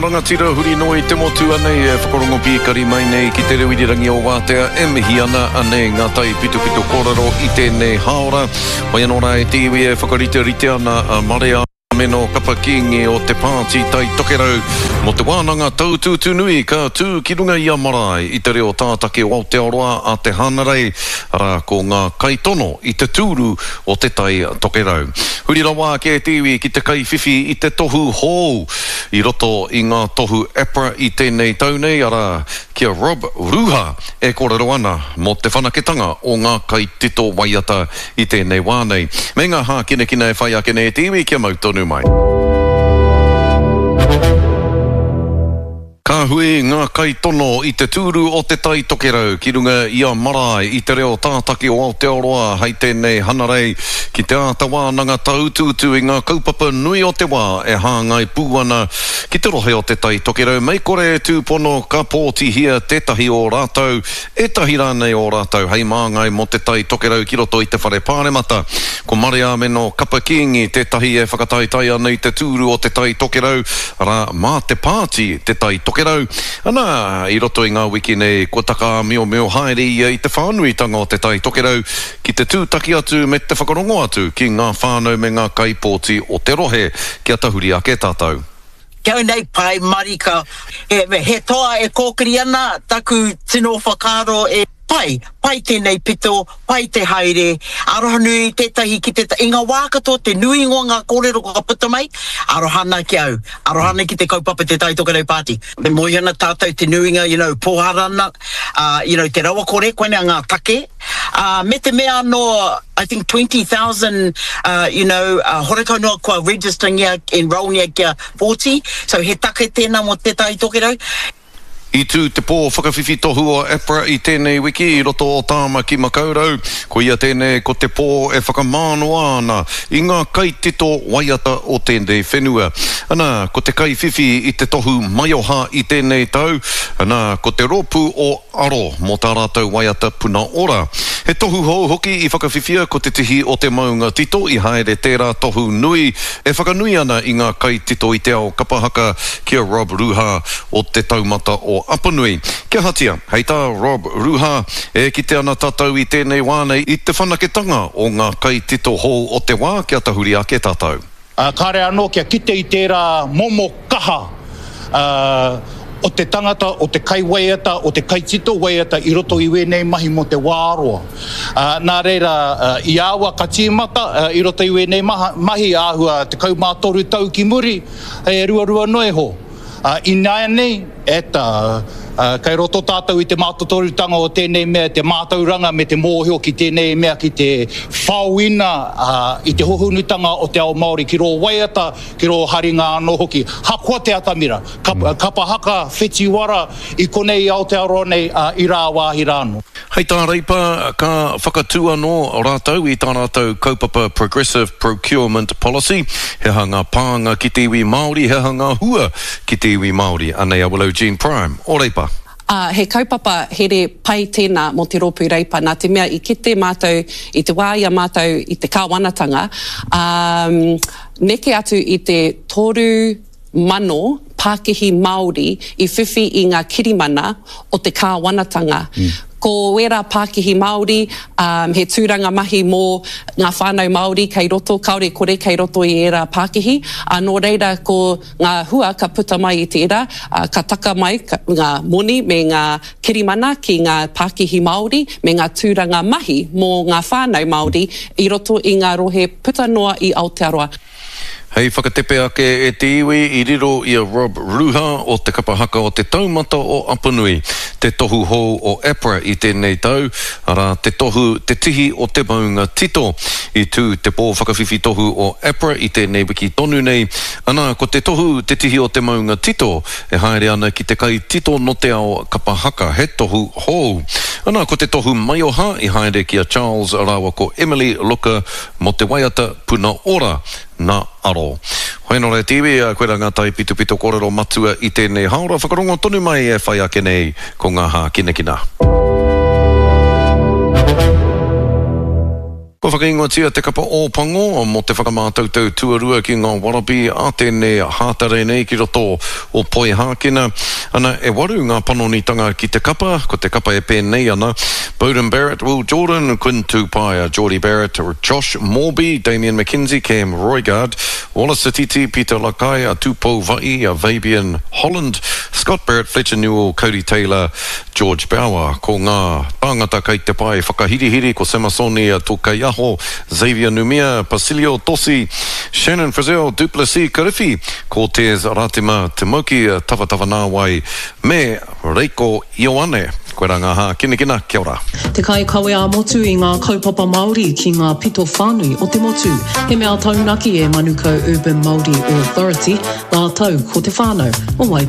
rangatira huri noa i te motu anei e whakarongo pīkari mai nei ki te reo irirangi o Wātea e mihi ana anei ngā taipitopito kōrero i tēnei hāora. Whai anō rā e te iwi e whakariterite ana a Marea Meno Kapa Kīngi o te Pāti Tai Tokerau mō te wānanga taututu nui ka tū ki runga i a marae i te reo tātaki o Aotearoa a te Hanarei, arā ko ngā kaitono i te tūru o Te Tai Tokerau. Huri rawa ake te iwi ki te kaiwhiwhi i te tohu hou i roto i ngā tohu APRA i tēnei tau nei, arā, ki a Rob Ruha e kōrero ana mō te whanaketanga o ngā kaitito waiata i tēnei wā nei. Me ngā hākinakina e whai ake nei e te iwi kia mau tonu mai. Ka hui ngā kaitono i te tūru o Te Tai Tokerau ki runga i a Marae i te reo tātaki o Aotearoa hei tēnei hanarei ki te āta wānanga tāutuutu i ngā kaupapa nui o te wā e hāngai pū ana ki te rohe o Te Tai Tokerau mei kore e tūpono ka pōtihia tētahi o rātou, ētahi rānei o rātou hei māngai mō Te Tai Tokerau ki roto i te Whare Pāremata. Ko Mareāmeno Kapa Kīngi tētahi e whakataetae ana i te tūru o Te Tai Tokerau, arā, mā te pāti Te Tai Tokerau. Anā, i roto i ngā wiki nei, kua takaāmiomio haere ia i te whānuitanga o Te Tai Tokerau ki te tūtaki atu me te whakarongo atu ki ngā whānau me ngā kaipōti o te rohe. Kia tahuri ake tātou. Kia nei pai marika. He toa e kōkiri ana taku tino whakaaro e pai, pai tēnei pito, pai te haere, arohanui tētahi ki tētahi, i ngā wā katoa te nuinga o ngā kōrero ka puta mai, aroha ana ki au, aroha ana ki te kaupapa Te Tai Tokerau Party. E moe ana tātou te nuinga, you know, pōhara ana, you know, te rawakore, koinā ngā take. Ā, me te mea anō, I think 20,000, uh, you know, uh, horekau noa kua register-ngia, enrol-ngia kia 40, so he take tēnā mō Te Tai Tokerau. I tū te pō whakawhiwhi tohu o APRA i tēnei wiki i roto o Tāmaki Makaurau. Koia tēnei ko te pō e whakamānoa ana i ngā kaitito waiata o tēnei whenua. Ana, ko te kaiwhiwhi i te tohu maioha i tēnei tau, ana, ko te rōpū o Aro mō tā rātou waiata Puna Ora. He tohu hou hoki i whakawhiwhia ko Te Tihi o te Maunga Tito i haere tērā tohu nui e whakanui ana i ngā kaitito i te ao kapa haka ki a Rob Ruha o Te Taumata o Apanui. Kia ahatia, hei tā Rob Ruha, e kite ana tātou i tēnei wā nei i te whanaketanga o ngā kaitito hou o te wā kia tahuri ake tātou. Ā, kāre anō kia kite i tērā momo kaha o te tangata, o te kaiwaiata, o te kaitito waiata i roto i wēnei mahi mō te wā roa. Ā, nā reira, i aua ka tīmata i roto i wēnei mahi āhua 13 tau ki muri, he ruarua noa iho. Ā, ināianei, e ta, ā, kei roto tātou i te mātotorutanga o tēnei mea, te mātauranga me te mōhio ki tēnei mea ki te whaoina, ā, i te hohonutanga o te ao Māori ki rō waiata, ki rō haringa anō hoki. Hakoa te atamira, kapa, kapa haka, whetiwara, i konei i Aotearoa nei, ā, i rāwāhi rā anō. Hei tā Reipa, ka whakatū anō rātou i tā rātou kaupapa Progressive Procurement Policy, he aha ngā pānga ki te iwi Māori, he aha ngā hua ki te iwi Māori. Anei a Willow Jean Prime o Reipa. Ā, he kaupapa here pai tēnā mō te rōpū Reipa, nā te mea i kite mātou i te wā i a mātou i te kāwanatanga, ā, neke atu i te 3,000 pākihi Māori i whiwhi i ngā kirimana o te kāwanatanga. Ko ērā pākihi Māori, ā, he tūranga mahi mō ngā whānau Māori kei roto, kāore kore kei roto i ērā pākihi, ā, nō reira ko ngā hua ka puta mai i tērā, ā, ka taka mai ngā moni me ngā kirimana ki ngā pākihi Māori me ngā tūranga mahi mō ngā whānau Māori i roto i ngā rohe puta noa i Aotearoa. Hei whakatepe ake e te iwi i riro i a Rob Ruha o te kapa haka o te Taumata o Apanui te tohu hou o APRA i tēnei tau, arā, te tohu Te Tihi o te Maunga Tito. I tū te pō whakawhiwhi tohu o APRA i tēnei wiki tonu nei, anā, ko te tohu Te Tihi o te Maunga Tito e haere ana ki te kaitito no te ao kapa haka, he tohu hou. Anā, ko te tohu maioha i haere ki a Charles rāua ko Emily Looker Mo te waiata Puna Ora na Aro. Hoi ano re te iwi, koira nga taipitopito korero matua i tenei haora, whakarongo tonu mai e whai ake nei ko nga hākinakina. Kua whakaingoatia te kapa Ōpango mō te whakamātautau tuarua ki ngā Wallaby a tēnei hātarei nei ki roto o Poihākena. Ana, e waru ngā panonitanga ki te kapa, ko te kapa e pēnei ana, Beauden Barrett, Will Jordan, Quinn Tupaea, Jordie Barrett, Josh Moorby, Damian McKenzie, Cam Roigard, Wallace Sititi, Peter Lakai, Tupou Va'i, Fabian Holland, Scott Barrett, Fletcher Newell, Codie Taylor, George Bower, ko ngā tāngata kei te pae whakahirihiri ko Samasoni Tokeiaho, Xavier Numia, Pasilio Tosi, Shannon Frizzell, Duplessis Kariwhi, Cortez Ratima, Timoki Tavatavanawai me Reiko Ioane. Koirā ngā hākinakina, kia ora. Te kaikawe ā-motu i ngā kaupapa Māori ki ngā pito whānui o te motu. He mea taunaki e Manukau Urban Māori Authority rātou ko te whānau o Waipa.